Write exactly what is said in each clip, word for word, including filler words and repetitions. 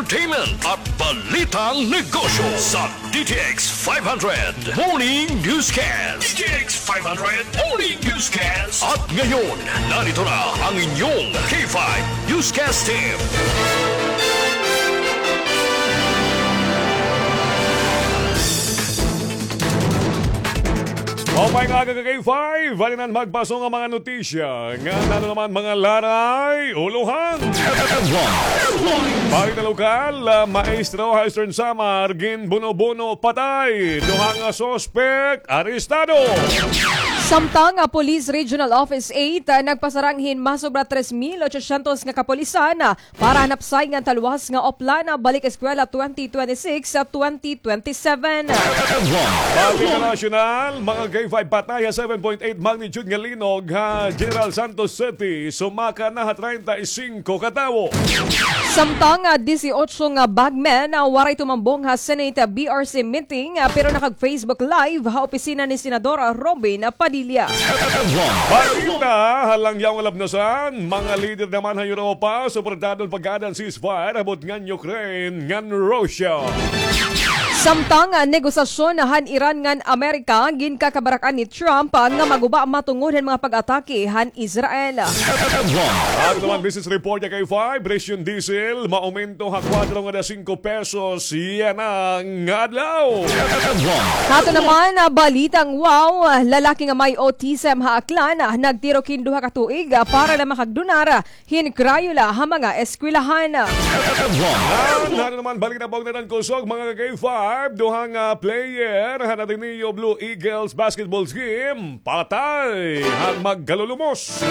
Entertainment at Balitang Negosyo sa D T X five hundred Morning Newscast. D T X five hundred Morning Newscast. At ngayon, narito na ang inyong K five Newscast Team. Maupay nga aga ka K five, hali na an magpaso nga mga notisya. Ngan ano naman mga laray, ulohan. Balita lokal, ah, maestro ha Eastern Samar, ginbuno-buno, patay. Duha nga suspek, arestado. Samtang, ah, Police Regional Office eight, ah, nagpasarang hin masobra tres mil ochocientos nga kapulisan, ah, para han hapsay ngan talwas nga Oplan, ah, balik eskwela twenty twenty-six sa twenty twenty-seven. Balita nasyonal, mga K five, patay ha seven point eight magnitude nga linog ha General Santos City, sumaka na ha treinta y cinco ka tawo. Samtang, ah, disiotso nga bagmen, ah, waray tumambong ha Senate, ah, B R C meeting, ah, pero nakag-Facebook Live ha opisina ni Senador, ah, Robin, ah, Padilla. Balita ha langyaw nga labnasan, mga lider naman ha Europa, suportado an pag-aada han ceasefire, ha butngan Ukraine ngan Russia. Samtang, ah, negosasyon han Iran ngan Amerika, ginkakabarak-an ni Trump, ah, nga maguba matungod han mga pag-atake han Israel. Ato naman business report ha K five, presyo han diesel, maumento ha kwatro ngada singko pesos yana nga adlaw. Ato naman, ah, balitang wow, ah, lalaki nga may autism ha Aklan, ah, nagtirok hin duha ka tuig, ah, para la makagdonar, ah, hin crayola ha mga eskwelahan. Ngan ano naman balita pa og nadan kusog, mga ka K five, duha nga player han Ateneo Blue Eagles basketball team, patay han magkalulumos.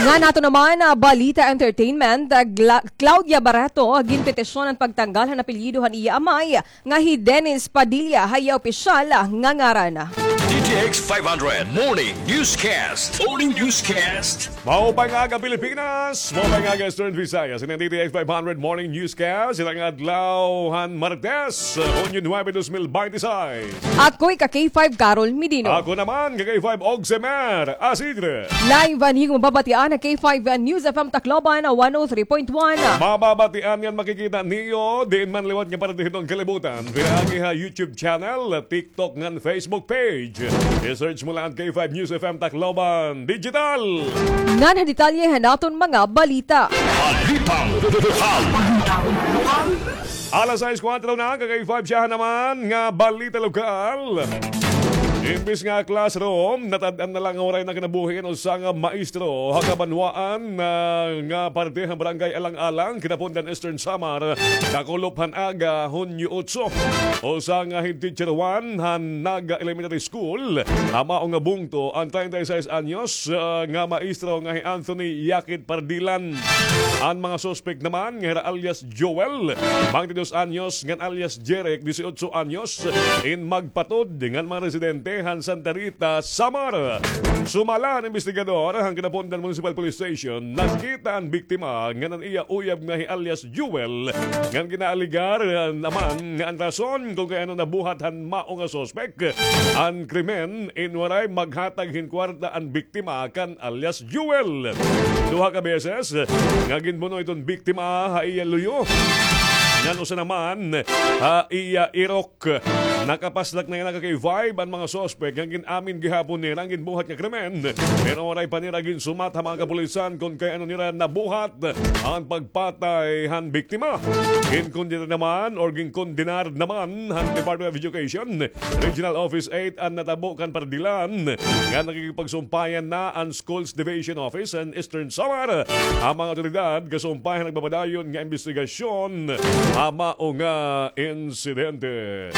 Ngan ato naman, ah, balita entertainment, ah, Gla-, Claudia Barreto, ah, ginpetisyon an pagtanggal han apelyido han iya amay, nga hi Dennis Padilla ha iya opisyal nga ngaran. D T X five hundred Morning Newscast. Morning Newscast. Maupay nga aga, Pilipinas. Maupay nga aga, Eastern Visayas. Ini an D T X five hundred Morning Newscast. Ini nga adlaw han Martes, Hunyo nuebe, dos mil binte y seis. Ako hi ka K five Carol Medino. Ako naman, ka K five Ogsemer Asidre. Live an iyo mababatian ha K five News F M Tacloban, one oh three point one. Mababatian ngan makikita niyo diin man liwat nga parte hiton kalibutan. Pinaagi ha YouTube channel, TikTok ngan Facebook page. I-search mo la an K five News F M Tacloban Digital. Ngan ha detalye han aton mga balita. Balitang lokal. Alas sais kuwatro na, ka K five, siya naman nga balita lokal. Imbis nga classroom, natad-an na la nga waray na kinabuhi an usa nga maestro ha kabanwaan, ah, nga parte han Barangay Alang-alang, Kinapundan, Eastern Samar, kakulop han aga, Hunyo otso. Usa nga head teacher one han Naga Elementary School, ha mao nga bungto, an treinta y seis anyos, ah, nga maestro nga hi Anthony Yakit Pardilan. An mga suspek naman nga hira alias Joel, beintidos anyos, ngan alias Jeric, disiotso anyos, in magpatud ngan mga residente han Santa Rita, Samar. Sumala han imbestigador han Kinapundan Municipal Police Station, nakita an biktima ngan an iya uyab nga hi alias Joel, ngan ginaalegar naman nga an rason kon kay ano nabuhat han mao nga suspek an krimen in waray maghatag hin kwarta an biktima kan alias Joel. Duha ka beses nga ginbuno iton biktima ha iya luyo, ngan usa naman ha iya irok. Nakapaslak na yana, ka K five, an mga suspek nga gin-amin gihapon nira an ginbuhat nga krimen, pero waray pa nira ginsumat ha mga kapulisan kon kay ano nira nabuhat an pagpatay han biktima. Ginkondenar naman or ginkondenar naman han Department of Education Regional Office eight an natabo kan Pardilan, nga nakikipagsumpayan na an Schools Division Office han Eastern Samar. An mga awtoridad kasumpay han nagpapadayon nga imbestigasyon ha mao nga insidente.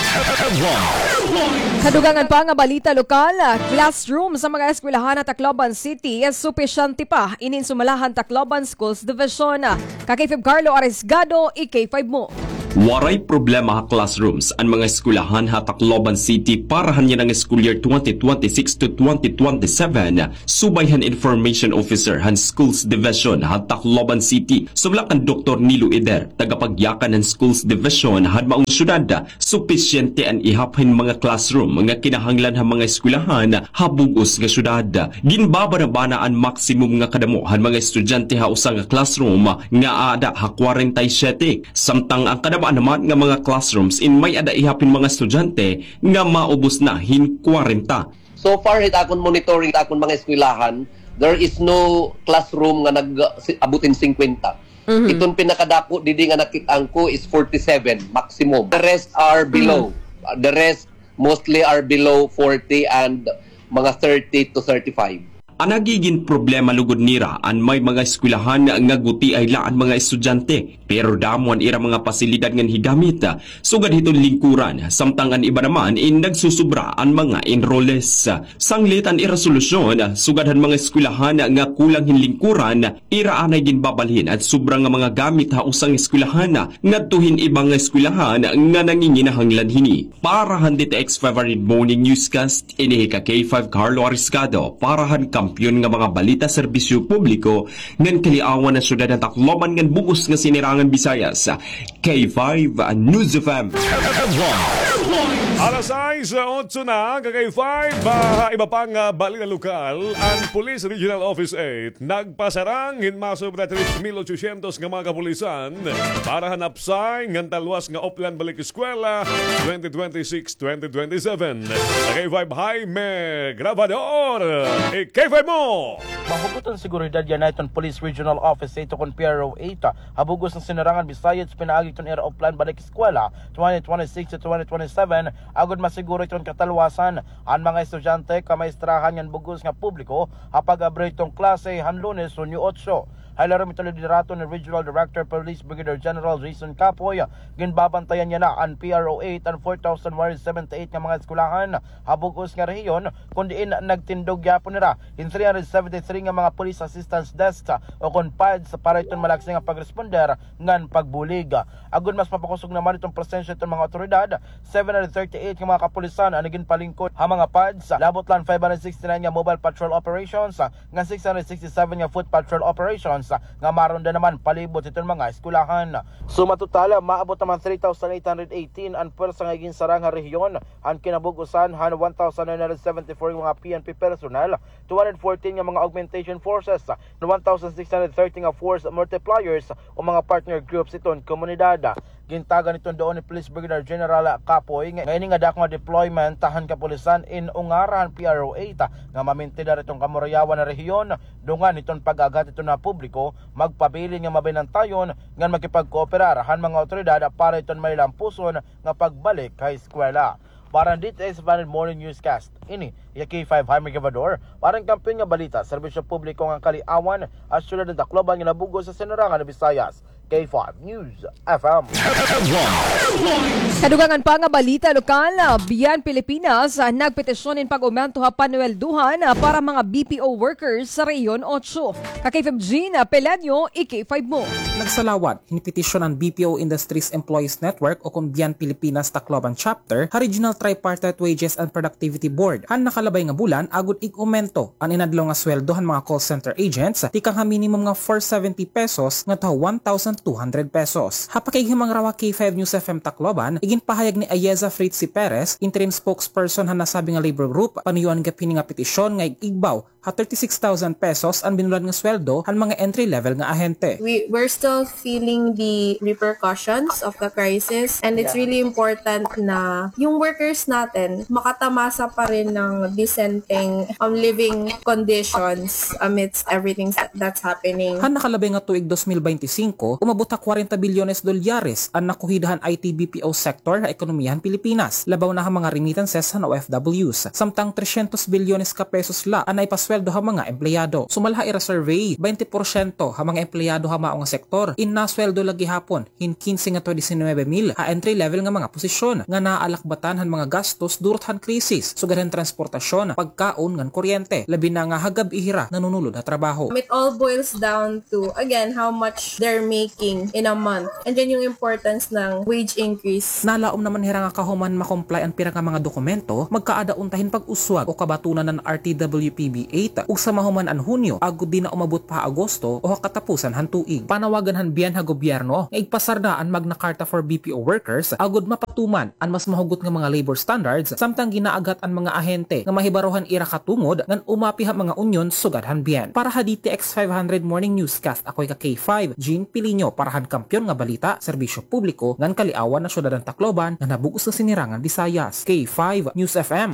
Kadugangan pa nga balita lokal, classroom sa mga eskwelahan ha Tacloban City, supisyente pa. Ini an sumala han Tacloban Schools Division. Ka K five Carlo Arisgado, i-K five mo. Waray problema ha classrooms an mga eskwelahan ha Tacloban City para han yana nga school year twenty twenty-six to twenty twenty-seven, subay han information officer han Schools Division han Tacloban City. Sumala kan Doktor Nilo Eder, tagapagyakan han Schools Division han maong syudad, supisyente an ihap hin mga classroom nga kinahanglan han mga eskwelahan ha bug-os nga syudad. Ginbabanabana an maximum nga kadamo han mga estudyante ha usa nga classroom nga aada ha kwarenta y siyete. Samtang an kadamo naman nga mga classrooms in may-ada ihap hin mga estudyante nga maubos na hin kwarenta. So far, hit akon monitoring, hit akon mga eskwelahan, there is no classroom nga nag-, si-, abot hin singkwenta. Mhm. Iton pinakadako didi nga nakit-an ko is forty-seven maximum. The rest are below. Mhm. Uh, the rest mostly are below forty and mga thirty to thirty-five. An nagigin problema lugod nira an may mga eskwelahan nga gutiay la an mga estudyante, pero damo an ira mga pasilidad ngan higamit, sugad hiton lingkuran, samtang an iba naman in nagsusubra an mga enrollees. Sanglit an ira solusyon, sugad han mga eskwelahan nga kulang hin lingkuran, ira anay ginbabalhin an sobra nga mga gamit ha usa nga eskwelahan ngadto hin iba nga eskwelahan nga nanginginahanglan hini. Para han D T X five Morning Newscast, ini hi ka K five Carlo Ariscado, para han kampiyon nga mga balita, serbisyo publiko, ngan kaliawan han syudad han Tacloban ngan bug-os nga Sinirangan Visayas, K five News F M. Alas sais otso na, ka K five. Ah, iba pang, ah, balita lokal, an Police Regional Office eight nagpasarang hin masobra tres mil ochocientos nga mga kapulisan para han hapsay ngan talwas nga Oplan Balik Eskwela twenty twenty-six twenty twenty-seven. Ka K five Jaime Grabador, i-K five mo! Mahugot an seguridad yana hiton Police Regional Office eight ukon P R O eight ha bug-os nga Sinirangan Visayas pinaagi hiton ira Oplan Balik Eskwela twenty twenty-six to twenty twenty-seven, agod masiguro hiton katalwasan an mga estudyante, kamaestrohan ngan bug-os nga publiko ha pag-abri hiton klase han Lunes, Hunyo otso. Ha ilarom hiton liderato ni Regional Director Police Brigadier General Jason Capoy, ginbabantayan yana an P R O eight an four thousand one hundred seventy-eight nga mga eskwelahan ha bug-os nga rehiyon, kon diin nagtindog gihapon hira hin three hundred seventy-three nga mga police assistance desks ukon pads para hiton malaksi nga pagresponder ngan pagbulig. Agod mas mapakusog naman iton presensya hiton mga awtoridad, seven hundred thirty-eight nga mga kapulisan an ginpalingkod ha mga pads, labot la an five hundred sixty-nine nga mobile patrol operations, ngan six hundred sixty-seven nga foot patrol operations nga maronda naman palibot hiton mga eskwelahan. Suma total, maabot naman three thousand eight hundred eighteen an pwersa nga ginsarang ha rehiyon, an kinabug-osan han one thousand nine hundred seventy-four nga mga P N P personnel, two hundred fourteen nga mga augmentation forces, one thousand six hundred thirty nga force multipliers o mga partner groups hiton komunidad. Gintagan hiton duon ni Police Brigadier General Capoy nga ini nga dako nga deployment han kapulisan in ungara han P R O eight nga mamintidar hiton kamurayawan nga rehiyon, dungan hiton pag-aghat hiton mga publiko, magpabilin nga mabinantayon ngan makipagkooperar han mga awtoridad para hiton malilampuson nga pagbalik ha eskwela. Para han D T S Vanid Morning Newscast, ini iya K five Jaime Gavador, para han kampiyon nga balita, serbisyo publiko ngan kaliawan, ha syudad han Tacloban nga nabug-os ha Sinirangan Visayas, K five News F M. Sa dugangan pa nga balita lokal, Bian Pilipinas, ah, nagpetisyon hin pag-umento ha panweldohan, ah, para mga B P O workers sa Rehiyon otso. Ka K five Jean, ah, Pelanio, i-K five mo. Nagsalawad hin petisyon an B P O Industries Employees Network o kon Bian Pilipinas Tacloban Chapter ha Regional Tripartite Wages and Productivity Board han nakalabay nga bulan agod ig-umento an inadlaw nga sweldo han mga call center agents tikang ha minimum nga four seventy pesos ngadto ha one thousand two hundred pesos. Ha pakikighimangaraw ha K five News F M Tacloban, iginpahayag ni Ayeza Fritzy Perez, interim spokesperson han nasabi nga labor group, panuyo an gihap hini nga petisyon nga ig-igbaw ha thirty-six thousand pesos an binulad nga sweldo han mga entry level nga ahente. We, we're still feeling the repercussions of the crisis, and it's really important na yung workers natin makatamasa pa rin ng disenteng, um, living conditions amidst everything sa-, that's happening. Han nakalabay nga tuig dos mil baynte singko, umabot ha kwarenta bilyones dolyares an nakuhida han I T B P O sector ha ekonomiya han Pilipinas, labaw na ha mga remittances han O F Ws. Samtang tresyentos bilyones ka pesos la an naipasweldo ha mga empleyado. Sumala ha ira survey, baynte porsyento ha mga empleyado ha mao nga sektor in nasweldo la gihapon hin kinse ngadto ha disinuybe mil ha entry level nga mga posisyon nga naaalakbatan han mga gastos durot han krisis, sugad han transportasyon, pagkaon ngan kuryente, labi na nga ha gab-i hira nanunulod ha trabaho. It all boils down to, again, how much they're making. asking in a month. And then yung importance ng wage increase. Nalaom naman hira nga kahuman ma-comply an pira nga mga dokumento, magkaada unta hin pag-uswag o kabatunan han R T W P B eight, ug sa mahuman an Hunyo, agod di na umabot pa ha Agosto o ha katapusan han tuig. Panawagan han BIAN ha gobyerno nga igpasar na an Magna Carta for B P O workers, agod mapatuman an mas mahugot nga mga labor standards, samtang ginaagat an mga ahente nga mahibaro han ira katungod ngan umapi ha mga unyon sugad han BIAN. Para ha D T X five hundred Morning Newscast, ako hi ka K five, Jean Pilinho, para han Kampiyon nga Balita, Serbisyo Publiko ngan Kaliawan han Syudad han Tacloban ngan ha bug-os nga Sinirangan Visayas. K five News F M.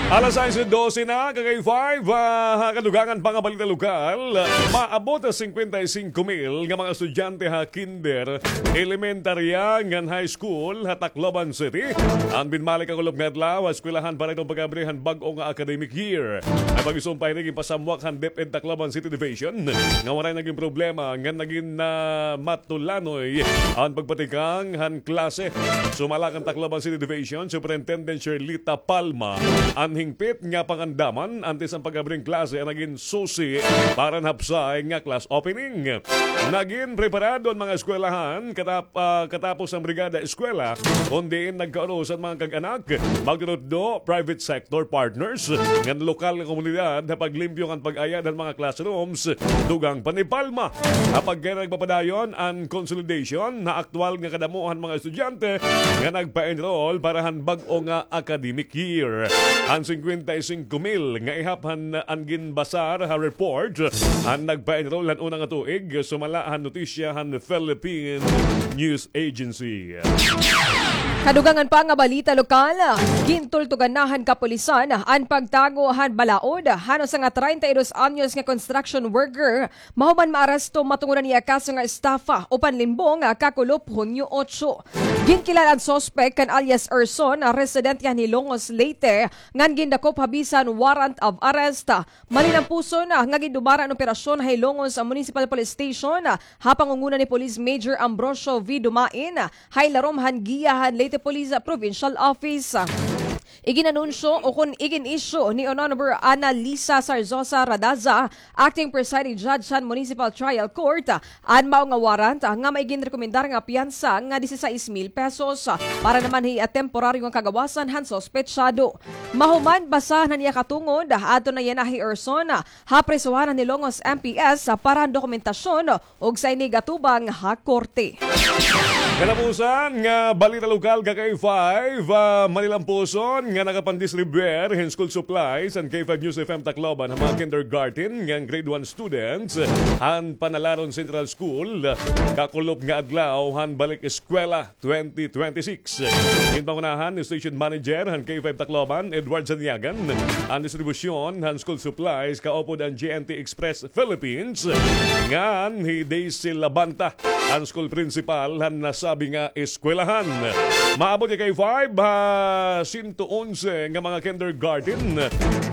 Alas sais dose na, ka K five, ah, ha kadugangan pa nga balita lokal. Maabot ha singkwenta y singko mil nga mga estudyante ha kinder, elementarya ngan high school ha Tacloban City an binmalik ha kulop nga adlaw ha eskwelahan para iton pag-abri han bag-o nga academic year. An pag-isumpay ini ginpasamwak han DepEd Tacloban City Division nga waray nagin problema ngan nagin, ah, matulanoy an pagpatikang han klase. Sumala kan Tacloban City Division Superintendent Sherlita Palma, an hingpit nga pangandaman antes han pag-abri hin klase an nagin susi para han hapsay nga class opening. Nagin preparado an mga eskwelahan katap-, ah, katapos an brigada eskwela, kon diin nagkauros an mga kag-anak, magtutdo, private sector partners, ngan lokal nga komunidad ha paglimpyo ngan pag-ayad han mga classrooms. Dugang pa ni Palma, ha pagkay nagpapadayon an consolidation ha aktual nga kadamo han mga estudyante nga nagpa-enroll para han bag-o nga academic year. An singkwenta y singko mil nga ihap han an ginbasar ha report an nagpa-enroll han una nga tuig, sumala han notisya han Philippine News Agency. Kadugangan pa nga balita lokal, gintultugan na han kapulisan an pagtago han balaod han usa nga treinta y dos anyos nga construction worker mahuman maaresto matungod han iya kaso nga estafa o panlimbong kakulop Hunyo otso. Ginkilala an suspek kan alias Erson, residente han Hilongos, Leyte, ngan gindakop ha bisan warrant of arrest. Malinampuson nga gindumara an operasyon ha Hilongos Municipal Police Station ha pangunguna ni Police Major Ambrosio V. Dumain, ha ilarom han giya han Leyte Police Provincial Office. Iginanunsyo o kon igin-issue ni Honorable Annalisa Sarzosa Radaza, Acting Presiding Judge han Municipal Trial Court, an mao nga warrant nga may ginrekomendar nga piyansa nga disisais mil pesos para naman hi, ah, temporaryo nga kagawasan han suspetsado. Mahuman, basahan han iya katungod, adto na yana hi Erson ha prisohan han Hilongos M P S para han dokumentasyon ug sa ini gatubang ha korte. Katapusan nga balita lokal, ka K five, ah, malinampuson nga nakapandistribuer hin school supplies an K five News F M Tacloban ha mga kindergarten ngan grade one students han Panalaron Central School kakulop nga adlaw han balik eskwela twenty twenty-six. Ginpangunahan ni Station Manager han K five Tacloban, Edward Zaniagan, an distribusyon han school supplies kaupod an G N T Express Philippines, ngan hi Daisy Labanta, an school principal han nasabi nga eskwelahan. Maabot hi K five ha sento onse nga mga kindergarten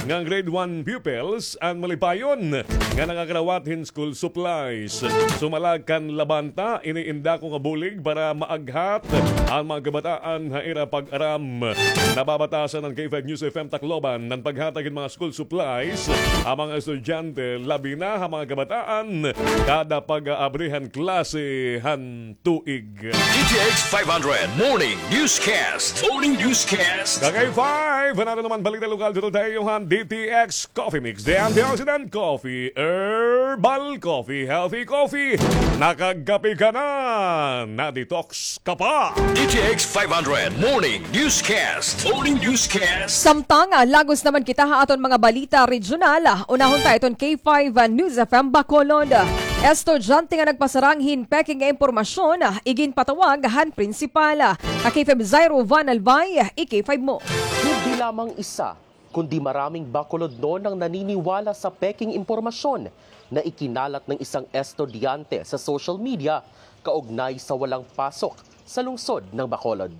ngan grade one pupils an malipayon nga nakakarawat hin school supplies. Sumala kan Labanta, ini in dako nga bulig para maaghat an mga kabataan ha ira pag-aram. Nababatasan han K five News F M Tacloban an paghatag hin mga school supplies ha mga estudyante, labi na ha mga kabataan, kada pag-aabri han klase han tuig. D T X five hundred Morning Newscast. Morning Newscast. Ka K five, an aton naman balita lokal, tutol ta iyo han D T X Coffee Mix, the antioxidant coffee, herbal coffee, healthy coffee. Nakagkape ka na, na-detox ka pa. D T X five hundred Morning Newscast. Morning Newscast. Samtang, ah, lagos naman kita ha aton mga balita regional, ah, unahon ta iton K five, ah, News F M Bacolod. Estudyante nga nagpasarang hin peke nga impormasyon, ah, iginpatawag han prinsipal. Ka K five Zairo Van Albay, i-K five mo. Hindi lamang isa, kundi maraming Bacolodnon ang naniniwala sa pekeng impormasyon na ikinalat ng isang estudyante sa social media kaugnay sa walang pasok sa lungsod ng Bacolod.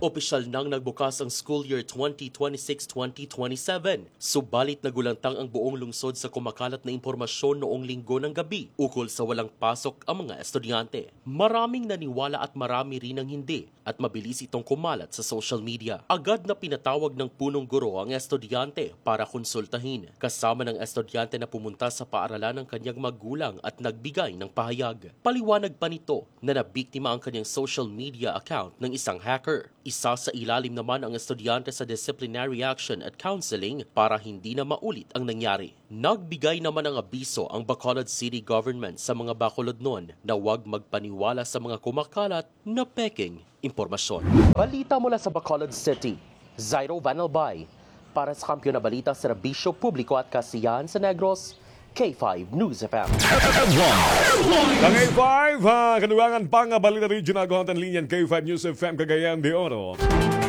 Opisyal nang nagbukas ang school year twenty twenty-six twenty twenty-seven. Subalit nagulantang ang buong lungsod sa kumakalat na impormasyon noong Linggo ng gabi ukol sa walang pasok ang mga estudyante. Maraming naniwala at marami rin ang hindi at mabilis itong kumalat sa social media. Agad na pinatawag ng punong guro ang estudyante para konsultahin. Kasama ng estudyante na pumunta sa paaralan ng kanyang magulang at nagbigay ng pahayag. Paliwanag pa nito na nabiktima ang kanyang social media account ng isang hacker. Isasailalim naman ang estudyante sa disciplinary action at counseling para hindi na maulit ang nangyari. Nagbigay naman ng abiso ang Bacolod City Government sa mga Bacolodnon na huwag magpaniwala sa mga kumakalat na pekeng impormasyon. Balita mula sa Bacolod City, Zairo Van Albay. Para sa Kampiyon na Balita, Serbisyo Publiko at Kasiyahan sa Negros, K five News F M. Ka K five, ha, kadugangan pa nga balita regional, kuhang ta an linya han K five News F M Cagayan de Oro.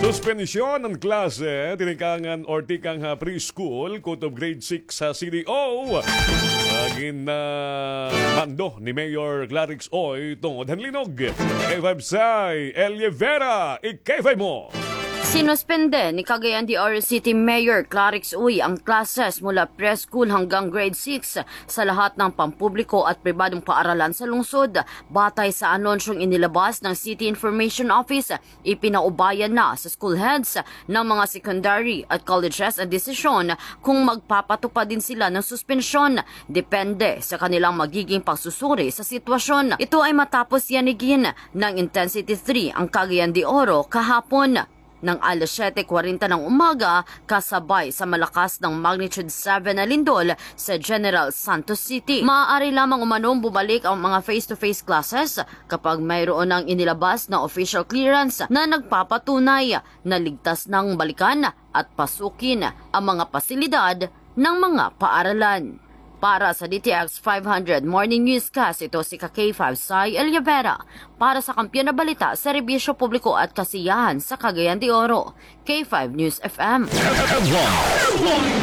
Suspensyon an klase, tinikangan or tikang ha preschool, kutob grade six ha C D O. Ah, gin, ah, mando ni Mayor Clarix Uy tungod han linog. K five Sai Elia Vera, i-K five mo. Sinuspende ni Cagayan de Oro City Mayor Clarix Uy ang classes mula preschool hanggang grade six sa lahat ng pampubliko at pribadong paaralan sa lungsod. Batay sa anunsyong inilabas ng City Information Office, ipinaubayan na sa school heads ng mga secondary at colleges ang desisyon kung magpapatupad din sila ng suspensyon, depende sa kanilang magiging pagsusuri sa sitwasyon. Ito ay matapos yanigin ng Intensity three ang Cagayan de Oro kahapon ng alas siyete kwarenta ng umaga, kasabay sa malakas ng magnitude seven na lindol sa General Santos City. Maaari lamang umanong bumalik ang mga face-to-face classes kapag mayroon ng inilabas na official clearance na nagpapatunay na ligtas nang balikan at pasukin ang mga pasilidad ng mga paaralan. Para sa D T X five hundred Morning Newscast, ito si ka K five Sai Elia Vera. Para sa Kampiyon na Balita, Serbisyo Publiko at Kasiyahan sa Cagayan de Oro, K five News F M.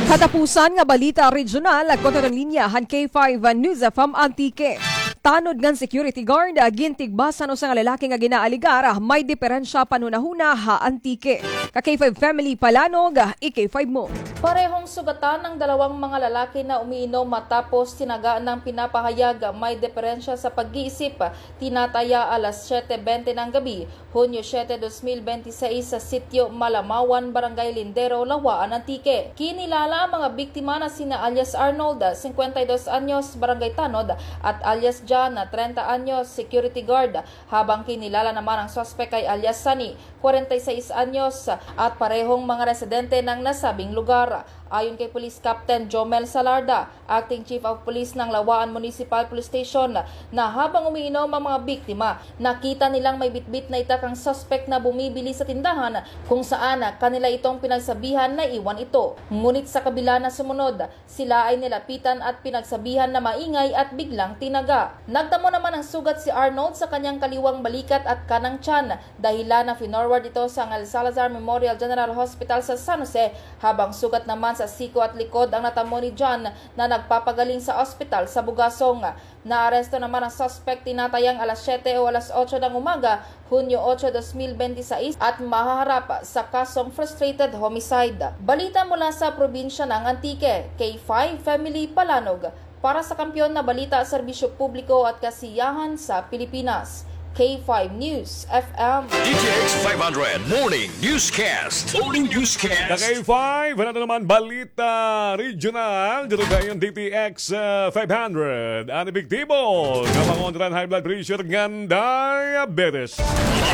Katapusan nga balita regional, kuhang ta an linya han K five News F M Antique. Tanod ngan security guard, gintigbasan usa nga lalaki nga ginaaligar may diperensya panhunahuna ha Antique. Ka K five Family Palanog, i-K five mo. Parehong sugatan ang dalawang mga lalaki na umiinom matapos tinaga ng pinapahayag may diperensya sa pag-iisip, tinataya alas siyete bente ng gabi, Hunyo siyete, dos mil bente y seis, sa Sitio Malamawan, Barangay Lindero, Lawaan, Antique. Kinilala ang mga biktima na sina alias Arnold, singkwenta y dos anyos, Barangay Tanod, at alias John, trenta anyos, security guard, habang kinilala naman ang suspek kay alias Sunny, kwarenta y seis anyos, at parehong mga residente ng nasabing lugar. Ayon kay Police Captain Jomel Salarda, Acting Chief of Police ng Lawaan Municipal Police Station, na habang umiinom ang mga biktima, nakita nilang may bitbit na itak ang suspek na bumibili sa tindahan kung saan kanila itong pinagsabihan na iwan ito. Ngunit sa kabila na sumunod, sila ay nilapitan at pinagsabihan na maingay at biglang tinaga. Nagtamo naman ng sugat si Arnold sa kanyang kaliwang balikat at kanang tiyan, dahilan na finorward ito sa Angel Salazar Memorial General Hospital sa San Jose, habang sugat naman sa siko at likod ang natamo ni John na nagpapagaling sa ospital sa Bugasong. Naaresto naman ang suspek tinatayang alas siyete o alas otso ng umaga, Hunyo otso, dos mil bente y seis, at mahaharap sa kasong frustrated homicide. Balita mula sa probinsya ng Antique, K five Family Palanog. Para sa Kampiyon na Balita, Serbisyo Publiko at Kasiyahan sa Pilipinas, K five News F M. D T X five hundred Morning Newscast. Morning Newscast. Ka K five, ano naman balita regional? Dito kayo ang D T X, uh, five hundred. An epektibo nga pangontra han high blood pressure ngan diabetes.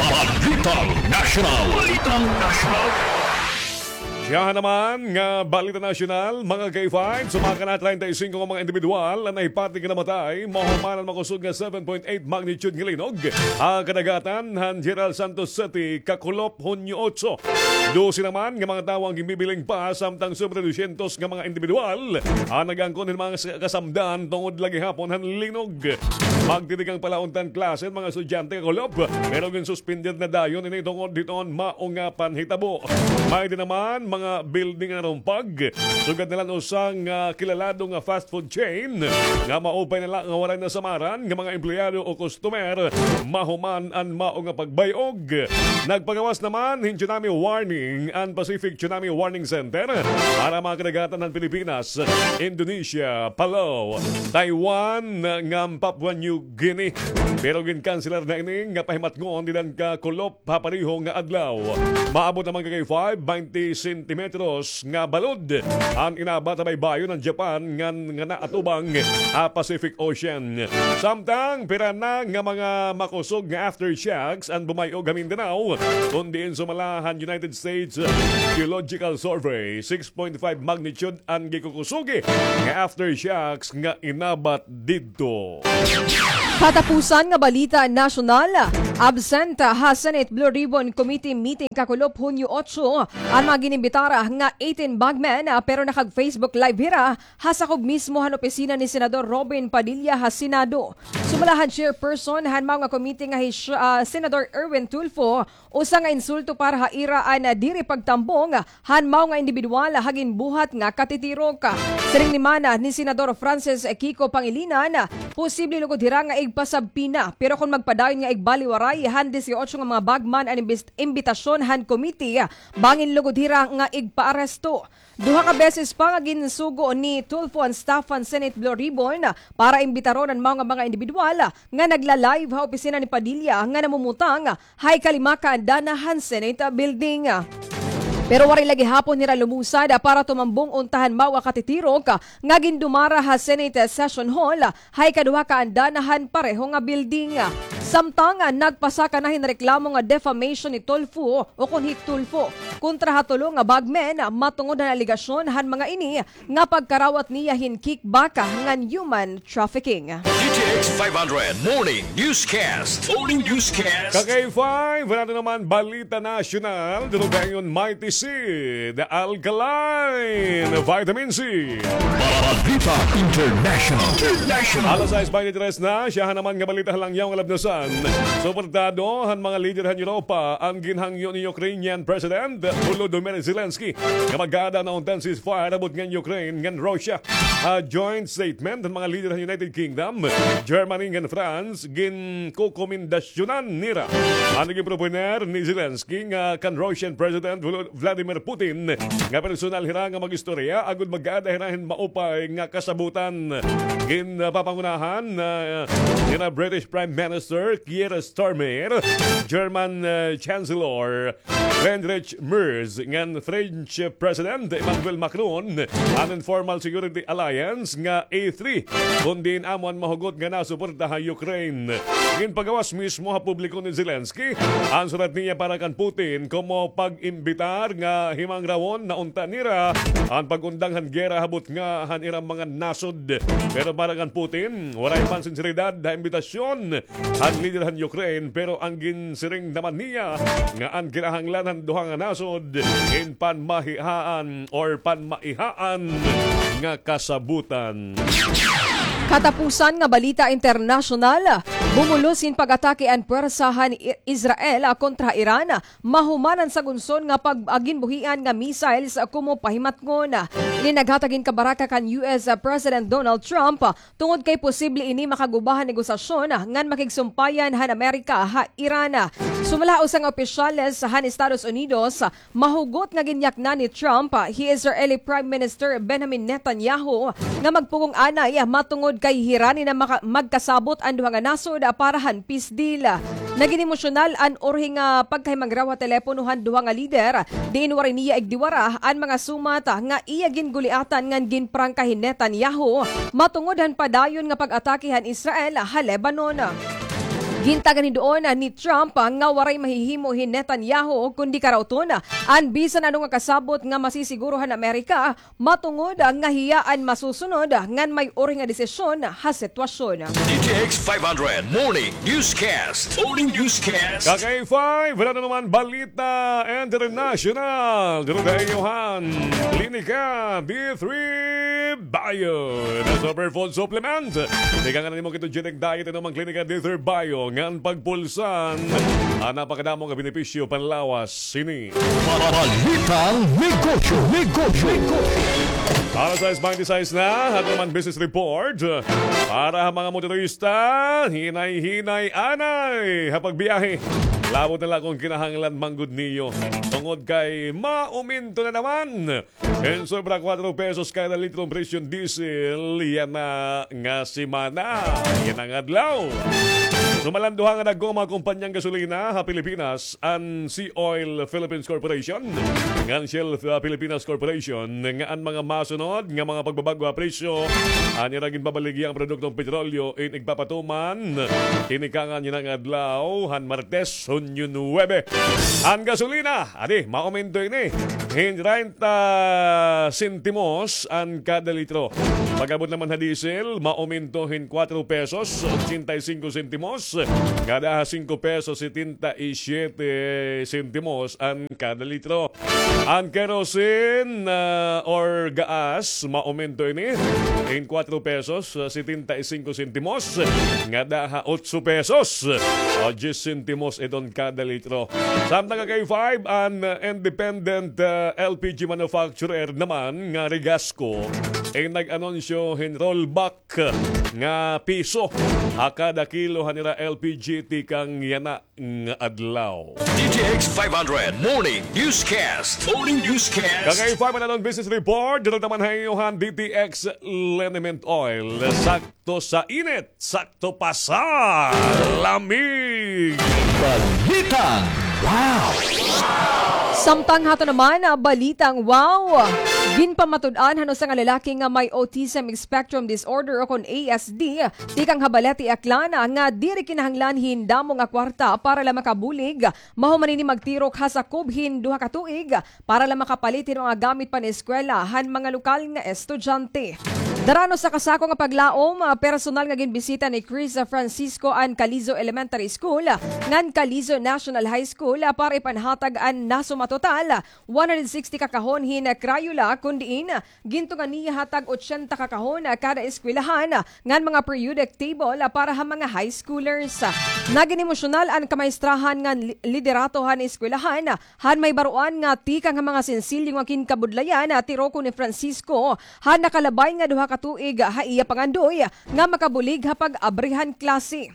Balitang Nasyonal. Balitang Nasyonal. Siyahan naman nga balita nasyonal, mga K five, sumaka na treinta y cinco nga mga indibidwal an nahipatik nga namatay mahuman han makusog nga seven point eight magnitude nga linog ha kadagatan han General Santos City, kakulop Hunyo otso. Dose naman nga mga tawo an ginbibiling pa, samtang sobre dosyentos nga mga indibidwal an nag-angkon hin mga kas-, kasamdan tungod la gihapon han linog. Magtitikang pa la unta an klase an mga estudyante kakulop, pero ginsuspender na dayon ini tungod hiton mao nga panhitabo. May-ada naman mga building nga narumpag. Sugad na la usa nga kilalado nga fast food chain nga maupay na la nga waray nasamaran nga mga empleyado o customer mahuman an mao nga pagbay-og. Nagpagawas naman hin tsunami warning an Pacific Tsunami Warning Center para mga kadagatan han Pilipinas, Indonesia, Palau, Taiwan, ngan Papua New Guinea. Pero ginkanselar na ini nga pahimatngon dida han kakulop ha pareho nga adlaw. Maabot naman kay five, twenty sentimetros nga balod an inabat ha baybayon han Japan ngan nga naatubang ha Pacific Ocean. Samtang pira na nga mga makusog nga aftershocks an bumay-og ha Mindanao, kun diin sumala han United States Geological Survey, six point five magnitude an gikukusogi nga aftershocks nga inabat didto. Katapusan nga balita nasyonal, absent ha Senate Blue Ribbon Committee meeting kakulop Hunyo otso an mga gin-imbitar nga eighteen bagman, pero nakag-Facebook Live hira ha sakob mismo han opisina ni Senador Robin Padilla ha Senado. Sumala han chairperson han mao nga committee nga hi Sh-, ah, Senador Erwin Tulfo, usa nga insulto para ha ira an diri pagtambong han mao nga indibidwal ha ginbuhat nga katitirok. Siring naman ni Senador Francis Kiko Pangilinan, posible lugod hira nga igpasubpoena, pero kon magpadayon nga igbaliwaray han disiotso nga mga bagman an imbis-, imbitasyon han committee, bangin lugod hira nga igpaaresto. Duha ka beses pa nga ginsugo ni Tulfo an staff han Senate Blue Ribbon para imbitaron an mao nga mga indibidwal nga nagla-live ha opisina ni Padilla nga namumutang ha ikalima ka andana han Senate Building. Pero waray la gihapon hira lumusad para tumambong unta han mao nga katitirok nga gindumara ha Senate Session Hall ha ikaduha ka andana han pareho nga building. Samtang nagpasaka na hin reklamo nga defamation ni Tulfo o kon hi Tulfo kontra ha tulo nga bagmen matungod han alegasyon han mga ini nga pagkarawat niya hin kickback ngan human trafficking. D T X five hundred Morning Newscast. Morning Newscast. Ka-K five, wala na naman balita nasyonal. Durugayon, Mighty Seed, Alkaline Vitamin C. Balita International. International. Alas sais bente tres na, siya naman nga balita ha langyaw nga labnasan. Suportado han mga lider han Europa an ginhangyo ni Ukrainian President Volodymyr Zelensky nga mag-aada na unta hin ceasefire abot ngan Ukraine ngan Russia. Ha joint statement han mga lider han United Kingdom, Germany ngan France, ginkokomendasyonan nira an ginproponer ni Zelensky nga kan Russian President Vlo-, Vladimir Putin nga personal hira nga mag-istorya agod mag-aada hira hin maupay nga kasabotan. Ginpapangunahan, ah, nira British Prime Minister Keir Starmer, German, ah, Chancellor Friedrich Merz ngan French President Emmanuel Macron an informal security alliance nga E three, kon diin amo an mahugot nga nasuporta ha Ukraine. Ginpagawas mismo ha publiko ni Zelensky an surat niya para kan Putin komo pag-imbitar nga himangrawon na unta nira an pag-undang han gera ha butnga han ira mga nasod. Pero para kan Putin, waray man sinseridad ha imbitasyon han lider han Ukraine, pero an ginsiring naman niya nga an kinahanglan han duha nga nasod in panmahihaan or panmaihaan nga kasabutan. Katapusan nga balita internasyonal, bumulos hin pag-atake an puwersa han I-, Israel kontra Iran mahuman an sagunson nga pag-, ah, ginbuhian nga missiles komo pahimatngon. Ini naghatag hin kabaraka kan U S President Donald Trump tungod kay posible ini makaguba han negosasyon ngan makigsumpayan han Amerika ha Iran. Sumala ha usa nga opisyales han Estados Unidos, mahugot nga ginyaknan ni Trump hi Israeli Prime Minister Benjamin Netanyahu nga magpugong anay matungod kay hirani na maka-, magkasabot an duha nga nasod para han peace deal. Nagin emosyonal an urhi nga pagkahimangraw ha telepono han duha nga lider, diin waray niya igdiwara an mga sumat nga iya ginguliatan ngan ginprangka hi Netanyahu matungod han padayon nga pag-atake han Israel ha Lebanon. Gintagan hin duon ni Trump nga waray mahihimo hi Netanyahu kundi karauton an bisan ano nga kasabot nga masisiguro han Amerika matungod nga hiya an masusunod ngan may uri nga desisyon ha sitwasyon. D T X five hundred Morning Newscast. Morning Newscast. Kakay five, wala na naman balita international. Dito tayo han Klinika D three Bio na Superfood Supplement. Ikaw nga nimo kito genetic diet, ano mang Klinika D three Bio ngan pagpulsan an napakadamo nga benepisyo panlawas sini. Balitang negosyo, negosyo, negosyo. Alas sais twenty-six na, aton naman business report. Para ha mga motorista, hinay-hinay anay ha pagbiyahe. Labot na la kon kinahanglan man gud niyo. Tungod kay mauminto na naman hin sobra kuwatro pesos kada litro an presyo hin diesel yana nga semana, yana nga adlaw. Sumala han duha nga dagko nga mga kumpanyang gasolina ha Pilipinas, an Sea Oil Philippines Corporation ngan Shell, uh, Pilipinas Corporation, nga an mga masunod nga mga pagbabag-o ha presyo an ira ginbabaligya nga produktong petrolyo in igpapatuman ini kanan yana nga adlaw han Martes, Hunyo nuwebe. An gasolina, adi, mauminto ini hin treinta sentimos an kada litro. Pag-abot naman ha diesel, mauminto hin kuwatro pesos, ochenta y cinco sentimos, ngada ha singko pesos, setenta y siete sentimos an kada litro. An kerosene, ah, or gaas, mauminto ini hin kuwatro pesos, ah, setenta y cinco sentimos, ngada ha otso pesos, ah, diyes sentimos iton kada litro. Samtang, Kakay five, an, ah, independent, ah, L P G manufacturer naman nga Regasco in nag-anunsyo hin rollback nga piso ha kada kilo han ira L P G tikang yana nga adlaw. D T X five hundred Morning Newscast. Morning Newscast. Kakay five, an aton business report, dito naman ha iyo han D T X Liniment Oil. Sakto sa init, sakto pa sa lamig. Balitang Wow. Samtang hato naman, ah, balitang wow! Ginpamatud-an han usa nga lalaki nga may autism spectrum disorder o kon A S D, tikang ha Balete, Aklan, nga diri kinahanglan hin damo nga kwarta para la makabulig, mahuman ini magtirok ha sakob hin duha ka tuig para la makapalit hin mga gamit pan-eskwela han mga lokal nga estudyante. Darano sa kasako nga paglaom, ah, personal nga ginbisita ni Chris Francisco an Calizo Elementary School ngan Calizo National High School, ah, para ipanhatag an nasuma total one hundred sixty ka kahon hin Crayola, kun diin gintunga niya ha tag otsenta ka kahon kada eskwelahan ngan mga periodic table para ha mga high schoolers. Nagin emosyonal an kamaestrahan ngan li-, liderato han eskwelahan han may baroan nga tikang ha mga sensilyo nga ginkabudlayan, tirokon ni Francisco, han nakalabay nga duha ka tuig ha iya pangandoy nga makabulig ha pag-abri han klase.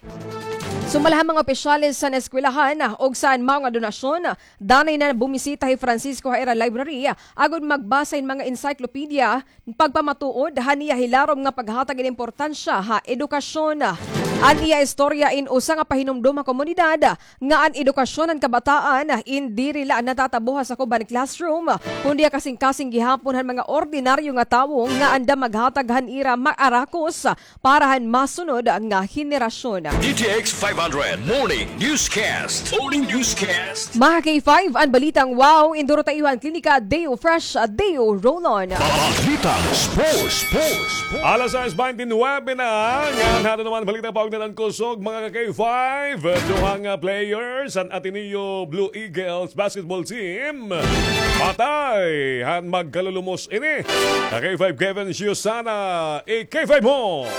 Sumala han mga opisyales han eskwelahan ug san mao nga donasyon, danay na bumisita hi Francisco ha ira library agod magbasa hin mga encyclopedia, pagpamatuod han iya hilarom nga paghatag hin importansya ha edukasyon. An iya istorya in usa nga pahinumdom ha komunidad nga an edukasyon han kabataan in diri la natatabo ha sakob han classroom, kundi ha kasingkasing gihapon han mga ordinaryo nga tawo nga andam maghatag han ira maarakos para han masunod nga henerasyon. D T X five hundred Morning Newscast. Morning Newscast. Mga K five, an balitang wow, induro ta iyo han Klinika Deo Fresh, Deo Roll-On. Balitang Sports. Sports. Alas sais twenty-nine na, ngan hato naman balita paugnahan han kusog, mga K five. Duha nga players han Ateneo Blue Eagles basketball team patay han magkalulumos ini. Ka K five Kevin Siusana, i-K five mo.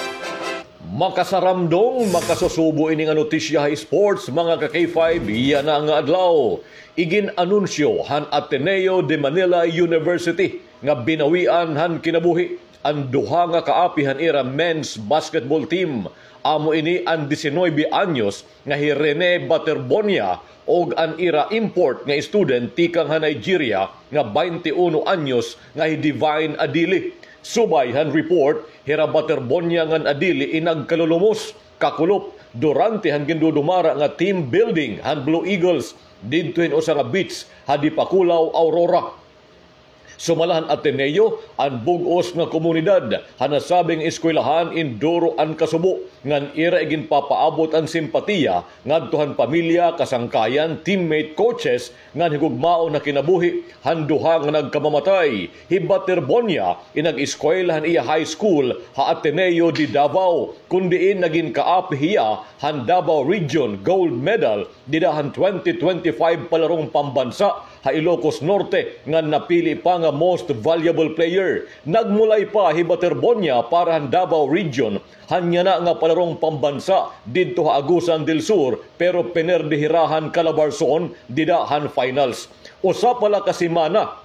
Makasaramdong, makasusubo ini nga notisya ha sports, mga ka K five, yana nga adlaw. Igin-anunsyo han Ateneo de Manila University nga binawian han kinabuhi an duha nga kaapi han ira men's basketball team. Amo ini an diecinuebe anyos nga hi Rene Baterbonia ug an ira import nga student tikang ha Nigeria nga baynte uno anyos nga hi Divine Adili. Subay han report, hira Baterbonia ngan Adili in nagkalulumos, kakulop, durante han gindudumara nga team building han Blue Eagles didto hin usa nga beach ha Dipakulaw, Aurora. Sumala han Ateneo, an bug-os nga komunidad han nasabing eskwelahan in duro an kasubo ngan ira iginpapaabot an simpatiya ngadto han pamilya, kasangkayan, teammate, coaches ngan higugmaon ha kinabuhi han duha nga nagkamamatay. Hi Baterbonia in nag-eskwela han iya high school ha Ateneo de Davao, kon diin nagin kaapi hiya han Davao Region Gold Medal dida han twenty twenty-five palarong pambansa ha Ilocos Norte ngan napili pa nga Most Valuable Player. Nagmulay pa hi Baterbonia para han Davao Region han yana nga palarong pambansa didto ha Agusan del Sur, pero pinerde hira han Calabarzon dida han finals. Usa pa la ka semana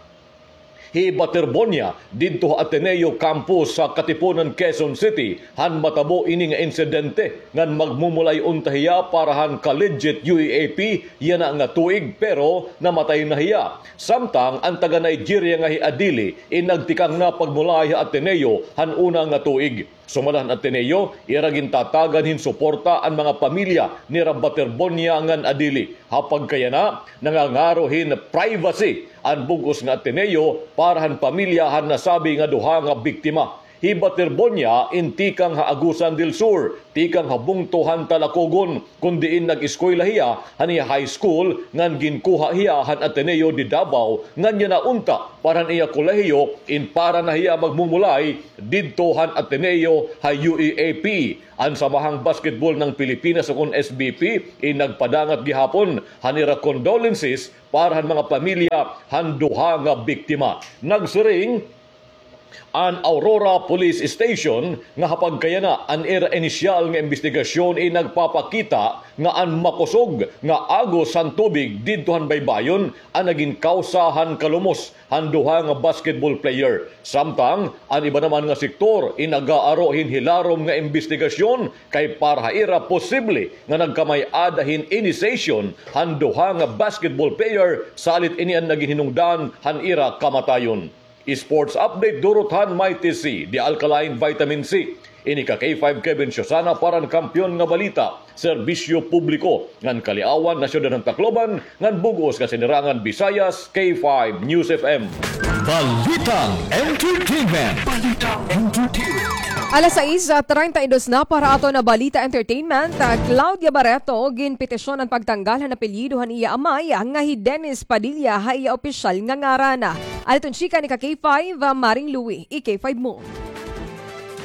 hi Baterbonia didto ha Ateneo Campus sa Katipunan, Quezon City, han matabo ini nga insidente ngan magmumulay unta hiya para han Collegiate U E A P yana nga tuig, pero namatay na hiya. Samtang an taga Nigeria nga hi Adili in nagtikang na pagmulay ha Ateneo han una nga tuig. Sumala han Ateneo, ira gintatagan hin suporta an mga pamilya nira Baterbonia ngan Adili. Ha pagkayana, nangangaro hin privacy an bug-os nga Ateneo para han pamilya han nasabi nga duha nga biktima. Hi Baterbonia in tikang ha Agusan del Sur, tikang ha bungto han Talacogon, kon diin nag-eskwela hiya han iya high school ngan ginkuha hiya han Ateneo de Davao ngan yana unta para han iya kolehiyo in para na hiya magmumulay didto han Ateneo ha U E A P. An Samahang Basketball ng Pilipinas ukon S B P in nagpadangat gihapon han ira condolences para han mga pamilya han duha nga biktima. Nagsiring an Aurora Police Station nga ha pagkayana an ira inisyal nga imbestigasyon in nagpapakita nga an makusog nga agos han tubig didto han baybayon an nagin kawsa han kalumos han duha nga basketball player. Samtang an iba naman nga sektor in nagaaro hin hilarom nga imbestigasyon kay para ha ira posible nga nagkamay-ada hin initiation han duha nga basketball player salit ini an nagin hinungdan han ira kamatayon. Sports update durot han Mighty C, the alkaline vitamin C. Ini ka K five Kevin Siosana para han Kampiyon nga Balita, Serbisyo Publiko, ngan Kaliawan, Nasyonal han Tacloban, ngan bug-os nga Sinirangan Visayas, K five News F M. Balitang Entertainment. Balitang Entertainment. Alas sais, ah, treinta y dos na para aton nga Balita Entertainment. Ah, Claudia Barreto, ginpetisyon an pagtanggal han apelyido han iya amay, ah, nga hi Dennis Padilla ha iya opisyal nga ngaran. Aliton chika ni ka K five, ah, Maring Louie, i K five mo.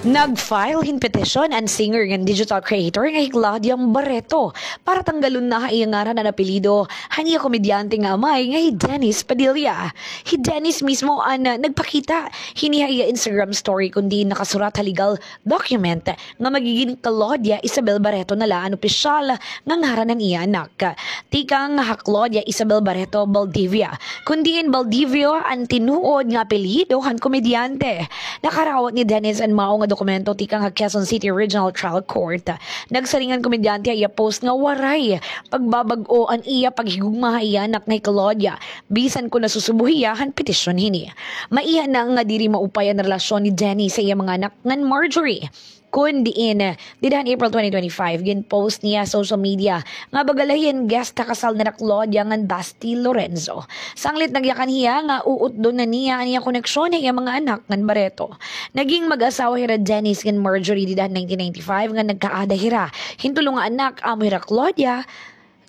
Nag-file hin petisyon an singer ngan digital creator nga hi Claudia Barreto para tanggalon na ha iya ngaran an apelyido han iya komedyante nga amay nga hi Dennis Padilla. Hi Dennis mismo an, ah, nagpakita hini ha iya Instagram story, kon diin nakasurat ha legal document nga magigin Claudia Isabel Barreto na la an opisyal nga ngaran han iya anak. Tikang ha Claudia Isabel Barreto Baldivia, kon diin Baldivio an tinuod nga apelyido han komedyante. Nakarawat ni Dennis an mao nga dokumento tikang ha Quezon City Regional Trial Court. Nagsiring an komedyante ha iya post nga waray pagbabag-o an iya paghigugma ha iya anak nga hi Claudia, bisan kon nasusubo hiya han petisyon hini. Maiha na nga diri maupay an relasyon ni Dennis sa iya mga anak ngan Marjorie. Kon diin, dida han April twenty twenty-five, gin-post niya sa social media nga baga la hiya hin guest ha kasal nira Claudia ngan Basti Lorenzo. Sanglit nagyakan hiya nga uutdon na niya an iya koneksyon ha iya mga anak ngan Barreto. Naging mag-asawa hira Dennis ngan Marjorie dida han nineteen ninety-five ngan nagkaada hira hin tulo nga anak, amo hira Claudia,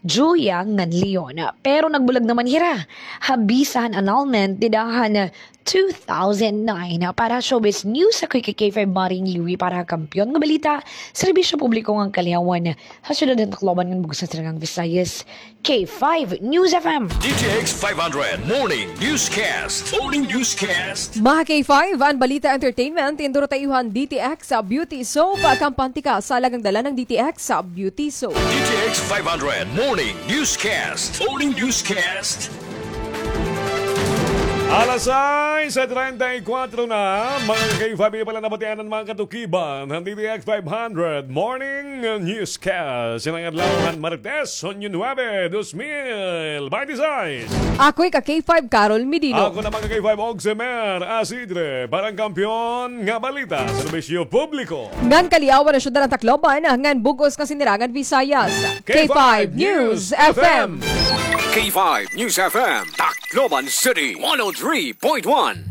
Julia ngan Leon. Pero nagbulag naman hira ha bisa han annulment dida han two thousand nine. Para Showbiz News, ako hi K five Maring Louie para ha Kampiyon nga Balita, Serbisyo Publiko ngan Kaliawan, ha syudad han Tacloban ngan bug-os nga Sinirangan Visayas, K five News F M. D T X five hundred Morning Newscast. Morning Newscast. Mga K five, an Balita Entertainment, tinduro ta iyo han D T X Beauty Soap, kampante ka sa alagang dala ng D T X Beauty Soap. D T X five hundred Morning Newscast. Morning Newscast. Alas sais treinta y cuatro na, mga K five, pala nabatian an mga katukiban han D T X five hundred Morning Newscast. Yana nga adlaw han Martes, Hunyo nuebe, dos mil binte y seis. Ako hi ka K five Carol Medino. Ako naman ka K five Oximer Asidre, para han Kampiyon nga Balita, Serbisyo Publiko ngan Kaliawan, ha syudad han Tacloban ngan bug-os nga Sinirangan Visayas, K five News F M. K five News F M, tak Loban City, one oh three point one.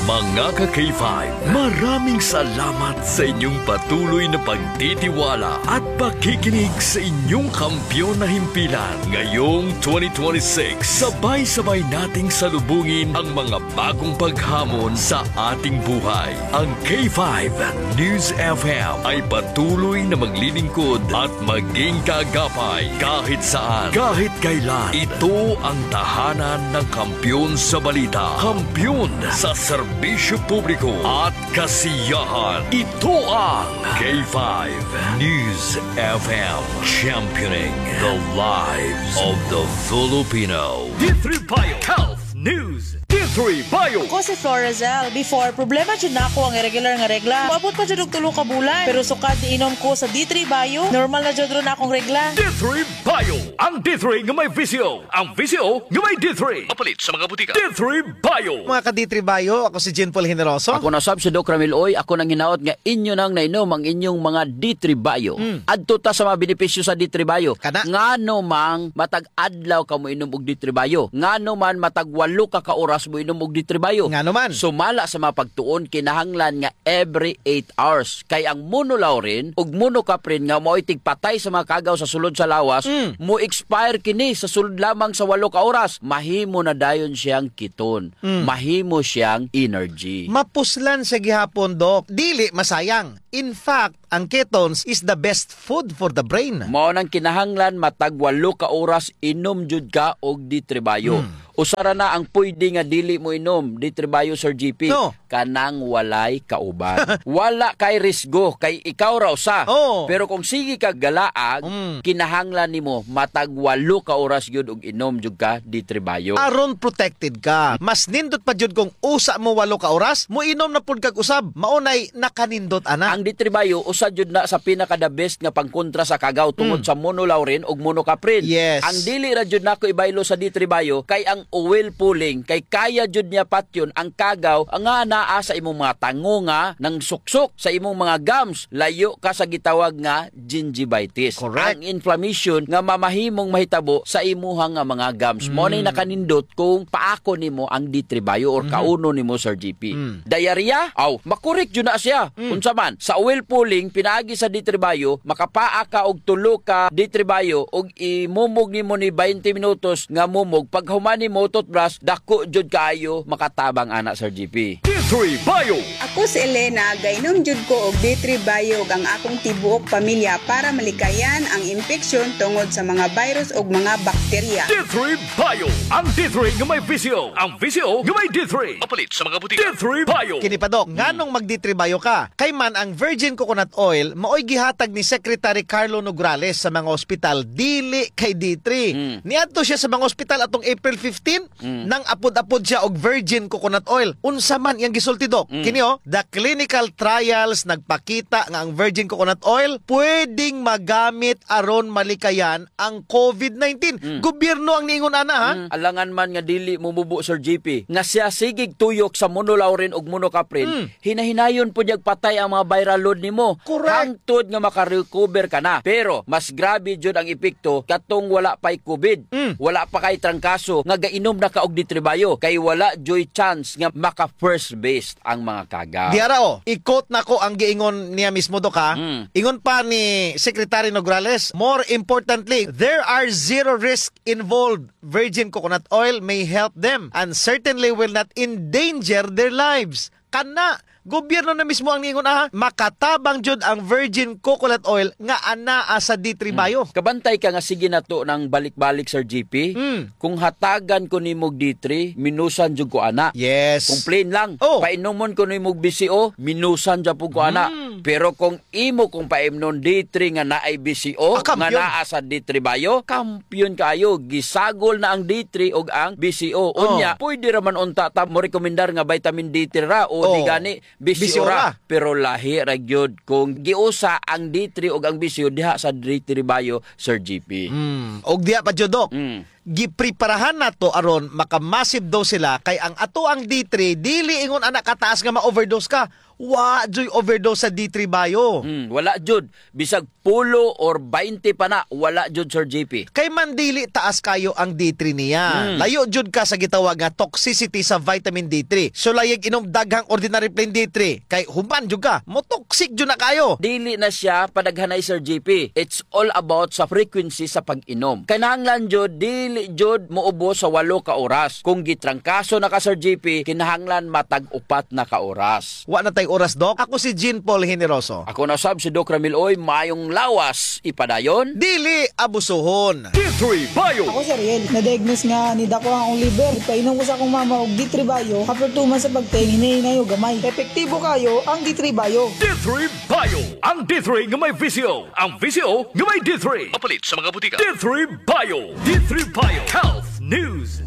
Mga ka-K five, maraming salamat sa inyong patuloy na pagtitiwala at pakikinig sa inyong kampiyon na himpilan. Ngayong twenty twenty-six, sabay-sabay nating salubungin ang mga bagong paghamon sa ating buhay. Ang K five News F M ay patuloy na maglilingkod at maging kaagapay kahit saan, kahit kailan. Ito ang tahanan ng kampiyon sa balita, kampiyon sa serbisyo publiko at kasiyahan. Ito ang K five News F M, championing the lives of the Filipino. D three Bio Health News. D three Bio. Ako si Florazel. Before, problema jud nako ang irregular nga regla. Moabot pa jud og tulo ka bulan. Pero sukad niinom ko sa D three Bio, normal na jud ron akong regla. D three Bio. Ang D three nga may V C O. Ang V C O nga may D three. Mapalit sa mga butika. D three Bio. Mga ka-D three Bio, ako si Jean Paul Generoso. Ako na sab si Doc Ramil Oy. Ako nang hinaot nga inyo nang nainom ang inyong mga D three Bio. Mm. Adto ta sa mga benepisyo sa D three Bio. Kana? Ngano mang matag adlaw ka moinom og D three Bio? Ngano man matag walo ka ka oras moinom og D three Bio? Ngano man? Sumala sa mga pagtuon, kinahanglan nga every eight hours. Kay ang monolaurin ug monocaprin nga mao'y tigpatay sa mga kagaw sa sulod sa lawas, Mm. mo-expire kini sa sulod lamang sa walo ka oras. Mahimo na dayon siyang ketone. Mm. Mahimo siyang energy. Mapuslan siya gihapon, Doc. Dili masayang. In fact, ang ketones is the best food for the brain. Mao nang kinahanglan matag walo ka oras inom jud ka og D three Bio. Hmm. Usa ra na ang pwede nga dili mo inom, D three Bio, Sir G P. No. Kanang walay kauban. Wala kay risgo, kay ikaw ra usa. Oo. Pero kung sige ka galaag, Hmm. kinahanglan nimo matag walo ka oras gyud og inom jud ka D three Bio. Aron protected ka. Mas nindot pa jud kung usa mo walo ka oras, moinom na pud kag usab. Mao nay nakanindot ana. Ang D three Bio, usa jud na sa pinaka the best nga pangkontra sa kagaw tungod Mm. sa monolaurin ug monocaprin. Yes. Ang dili ra jud nako ibaylo sa D three Bio kay ang oil pulling, kay kaya jud niya patyon ang kagaw nga naa sa imong mga tango nga nangsuksok, sa imong mga gums, layo ka sa gitawag nga gingivitis. Correct. Ang inflammation nga mamahimong mahitabo sa imuha nga mga gums. Mao nay Mm. nakanindot kung paako nimo ang D three Bio or Mhm. kauno nimo, Sir G P. Mm. Diarrhea? Aw, makorek jud na siya. Mm. Unsa man? Sa oil pulling, pinaagi sa D three Bio, makapaa ka og tulo ka D three Bio og imumog nimo ni twenty minutos nga mumog. Paghuman nimo toothbrush, dako jud kaayo makatabang ana, Sir G P. D three Bio. Ako si Elena, gainom jud ko og D three Bio ug ang akong tibuok pamilya para malikayan ang impeksyon tungod sa mga virus ug mga bakterya. D three Bio. Ang D three nga may V C O. Ang V C O nga may D three. Mapalit sa mga butika. D three Bio. Kini pa, Doc, Hmm. nganong mag-D three Bio ka? Kay man ang virgin coconut oil, maoy gihatag ni Secretary Carlo Nograles sa mga ospital, dili kay D three. Hmm. Niadto siya sa mga ospital atong April fifteen, Mm. nang apod-apod siya og virgin coconut oil. Unsa man iyang gisulti, Doc? Mm. Kini, oh, the clinical trials nagpakita nga ang virgin coconut oil pwedeng magamit aron malikayan ang COVID nineteen. Mm. Gobyerno ang niingon ana, ha? Mm. Alangan man nga dili mumubo, Sir G P, nga siya sigig tuyok sa monolaurin ug monocaprin, Mm. hinahinayon pud niyag patay ang mga viral load nimo. Correct. Hangtod nga makarecover ka na. Pero mas grabe jud ang epekto katong wala pa'y COVID. Mm. Wala pa kay trangkaso nga gainom na ka og D three Bio, kay wala juy chance nga maka first base ang mga kagaw. Diara, oh, i-quote nako ang giingon niya mismo, Doc, ha? Mm. Ingon pa ni Secretary Nograles, "More importantly, there are zero risk involved. Virgin coconut oil may help them and certainly will not endanger their lives." Kana, gobyerno na mismo ang niingon, aha, makatabang jud ang virgin coconut oil nga anaa sa D three Mm. Bio. Kabantay ka nga sige nato nang balik-balik, Sir G P. Mm. Kung hatagan ko nimo og D three, minusan jud ko ana. Yes. Kung plain lang, Oh. painomon ko nimo og B C O, minusan jud pud ko ana. Mm. Pero kung imo kong paimnon D three nga naay B C O, Ah, nga kampiyon. naa sa D three Bio, kampiyon kaayo. Gisagol na ang D three ug ang B C O. Oh. Unya, pwede ra man unta ta mo rekomendar nga vitamin D three ra o di Oh. gani B C O ra. B C O ra. Pero lahi ra gyud kung giusa ang D three ug ang B C O diha sa D three Bio, Sir G P. Mm. Og diha pa jud, Doc. Mm. Gipreparahan nato aron maka-massive dose sila, kay ang atoang D three, dili ingon ana kataas nga ma-overdose ka. Wa juy overdose sa D three Bio. Hmm, wala jud. Bisag pulo or baynte pa na, wala jud, Sir J P. Kay man dili taas kayo ang D three niya. Hmm. Layo jud ka sa gitawag nga toxicity sa vitamin D three. So, layig inom daghang ordinary plain D three. Kay human jud ka, mo-toxic jud na kayo. Dili na siya padaghanay, Sir J P. It's all about sa frequency sa pag-inom. Kinahanglan jud, dili jud moubos sa walo ka oras. Kung gitrangkaso na ka, Sir J P, kinahanglan matag upat na ka oras. Wa na tay oras, Doc. Ako si Jean Paul Generoso. Ako na sab si Doc Ramil Oy, mayong lawas ipadayon. Dili abusuhon. D three Bio. Ako si Ariel. Na-diagnose nga nidako ang akong liver. Ipainom ko sa akong mama og D three Bio. After two months sa pagtaim, hinay-hinay og gamay. Epektibo kayo ang D three Bio. D three Bio. Ang D three nga may V C O. Ang V C O nga may D three. Mapalit sa mga butika. D three Bio. D three Bio. Health News.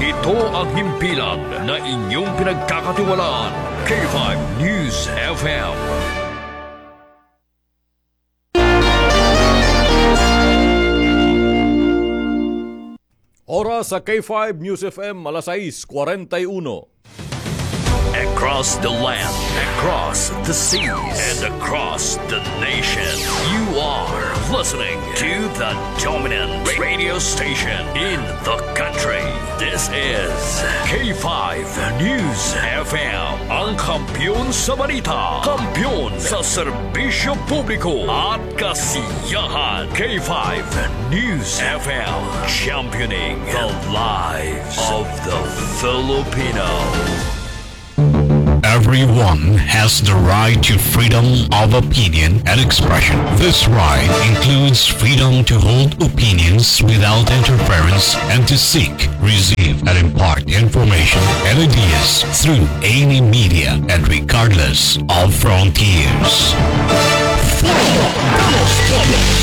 Ito ang himpilan na inyong pinagkakatiwalaan. K five News F M. Oras sa K five News F M, alas sais kwarenta y uno. Across the land, across the seas, and across the nation, you are listening to the dominant radio station in the country. This is K five News F M, ang kampiyon sa balita, kampiyon sa serbisyo publiko at kasiyahan. K five News F M, championing the lives of the Filipino. Everyone has the right to freedom of opinion and expression. This right includes freedom to hold opinions without interference and to seek, receive, and impart information and ideas through any media and regardless of frontiers. Foro de los Pueblos,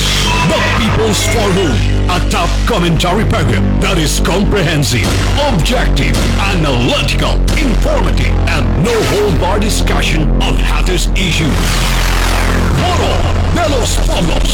the People's Forum, a top commentary program that is comprehensive, objective, analytical, informative, and no-hold-bar discussion of hottest issues. Foro de los Pueblos,